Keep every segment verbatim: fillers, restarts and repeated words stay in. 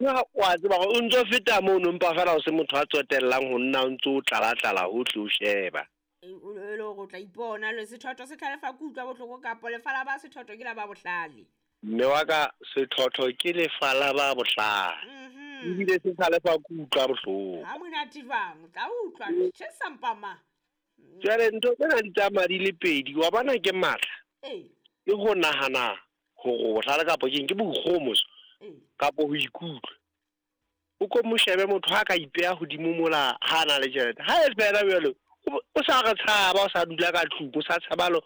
Ya wa tseba hore o ntso feta mono mpa fela o se motho a tsotellang ho nna o ntso o tlala-tlala hohle o sheba. E o le hore o tla ipona le sethotho se tlhalefa ke utlwa bohloko kapo lefa la ba sethotho ke la ba bohlale. Mme wa ka sethotho ke lefa la ba bohlale. Mhm. Ebile se tlhalefa ke utlwa bohloko. Ha monate jwang, o tla utlwa tjhe sampama. Jwale ntho tsena di tsamaya di le pedi, wa bona ke matla. Ee. Ke ho nahana hore o bohlale kapa keng, ke boikgohomoso Ee. kapo ho ikutlwa. O ko mo shebe motho ha ka ipeha hodimo mola ha a na le tjhelete. Ha e fela jwalo, o, o sa re tshaba, o sa dula ka tlung, o sa tshaba lo,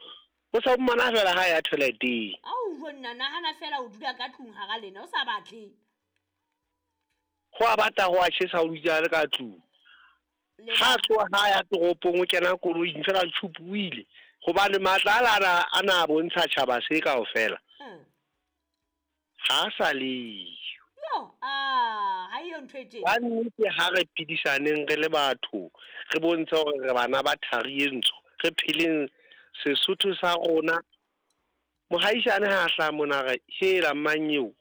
o sa mmona fela ha ya toileteng. Ao jo nna nahana fela o dula ka tlung hara lena o sa batle. Ho a bata ho a tjhesa o dutse a le ka tlung. Le Ha tloha ha ya toropong o kena koloing fela tjhupu o ile. Hobane matla a la a na bontsha tjhaba se kaofela. Mm. Ha sa le. Yo, ah, ha eyo ntho e teng. Ka nnete ha re phedisaneng re le batho, re bontshe hore re bana ba thari e ntsho, re pheleng Sesotho sa rona. Mohaisane ha hlaha mona re hela mang eo.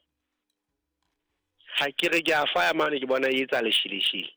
Ha ke re ke a faya mane ke bona e etsa lesheleshele.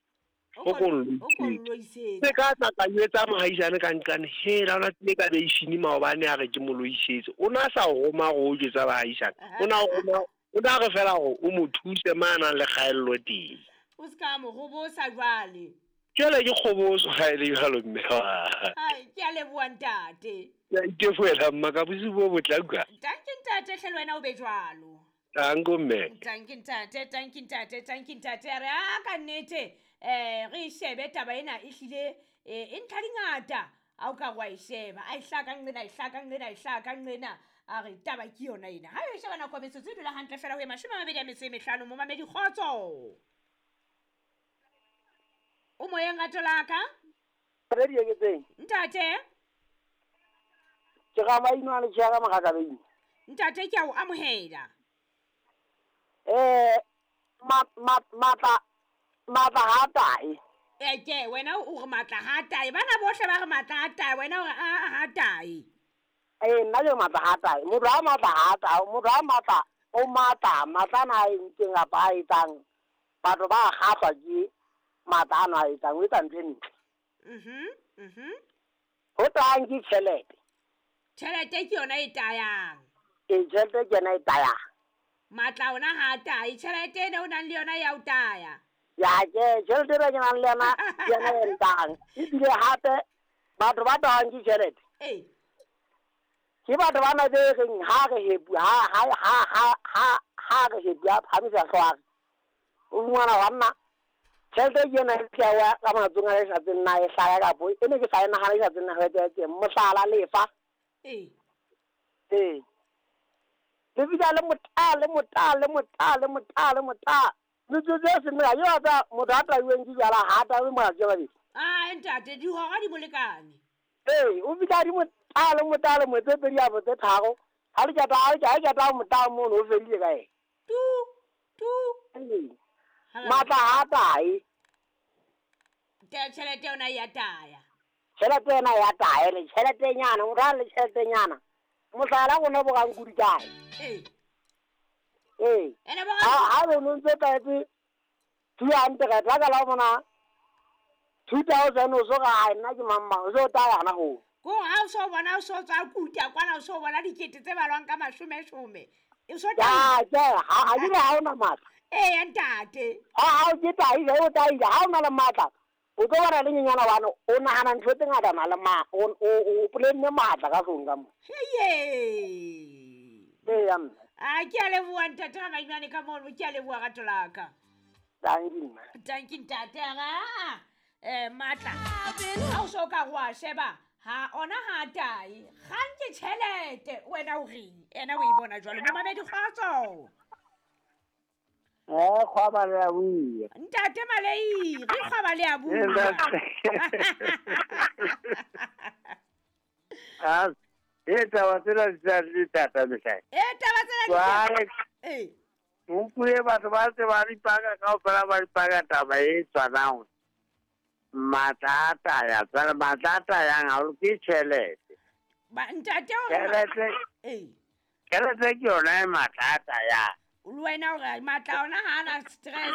O O ko ko o ko nloisetse. Se ka tla ka jwetsa mohaisane ka nqane, hela ona tlile ka beisini maobane a re ke mo loisetse. O na sa roma hore o jwetsa bahaisane. O na roma, o na re fela hore o mo thuse ma nang le kgaello teng. O ska mo hobosa jwale. Jwale ke kgoboso ha e le jwalo mme wa. Ai, ke a leboha ntate. Ke a itefoela mma ka bosiu bo botle utlwa. Tanki ntate hle le wena o be jwalo. Tanko mme. Tanki ntate, tanki ntate, tanki ntate. A re a ka nnete eh re shebe taba ena e hlile e ntlha dingata. A o ka wa e sheba, a e hlaka nqena, e hlaka nqena, e hlaka nqena. A re taba ke yona ena. Ha e sheba nako metsotso e dula hantle fela ho e mashome a mabedi a metso e mehlano mo mamedi kgotso. O moyeng rato la ka? Re di eketseng. Ntate. Ke ga maino a le tjhaka mogatsa. Ntate ke a o amohela. Eh ma ma matla matla ha tae. Eh ke wena o re matla ha tae. Bana bohle ba re matla ha tae, wena o re a ha tae. Eh nna ke matla ha tae. Motho a matla ha tae, motho a matla o matla, matla na e ntseng a ba etsang. Batho ba kgahlwa ke matla ana a etsang, o etsa ntho e ntle. Mhm, mhm. Ho tang ke tjhelete. Tjhelete ke yona e tayang. E tjhelete ke yona e tayang. Matla ona ha tae, tjhelete ena o nang le yona ya o taya. Ya ke tjhelete e ke nang le yona ke yona e ntang. Ebile hape batho ba tayang ke tjhelete. Eh. Ke batho ba na be reng ha re hepu ha ha ha ha ha ha re hepu a phamisa hlooho. O ngwana wa nna tjhelete ke yona e tla wa ka matsong a e sa tseng na e hlaya kapo e ne ke sa e nahana e sa tseng na ho etsa teng mohlala lefa. Eh. Eh. Le fihla le motala le motala le motala le motala le motala. Metsotso e seng mekae, yo tsa motho a taiweng ke jwala ha taiwe matsatsi a mabedi. Ah, ntate, dihora di molekane. Ee, o fihla di motala le motala le motse pedi a botse tharo. Ha le keta ha le keta motala mono o fedile ka eng. Tu tu. Ee. Matla ha tae. Tjhelete yona ya taya. Tjhelete yona ya taya, le tjhelete nyana, motho a le tjhelete nyana. Mohlala rona bo rang kudi kae. Ee. Ee. Ene bo Ha ha re no ntse kaetse two hundred la ka la mona two thousand o so ga nna ke mamma o so taya hana ho. Ko ha o so bona o so tswa kuta kwana o so bona dikete tse balwang ka mashome shome. E so taya. Ya, ha ha di ha ona matla. Ee ntate. Ha ha o ke tai o tai ha ona le matla. O tlo bona le nyenyana bana o nahana ntho tse ngata na le ma o o polenne matla ka tlong ka mo. Heye. Ee ya mme. A ke a leboha ntate ga mainwane ka mono, ke a leboha rato la ka. Tanki mma. Tanki ntate ga. Eh matla. Ha o so ka go a sheba ha ona ha tae. Ga nke tjhelete wena o reng? Ena o e bona jwalo mo mamedi kgotso. Eh kgwaba le a bua. Ntate Malei, re kgwaba le a bua. Ah, e taba tsena di tla le thata mehlae. E taba tsena di Jwale Eh. Nkuye batho ba tse ba dipaka kaofela ba dipaka taba e tshwanang. Matla a taya, jwale matla a tayang haholo ke tjhelete. Ba ntate o Tjhelete. Eh. Tjhelete ke yona e matla a tayang. Le wena ore matla ona ha ana stress.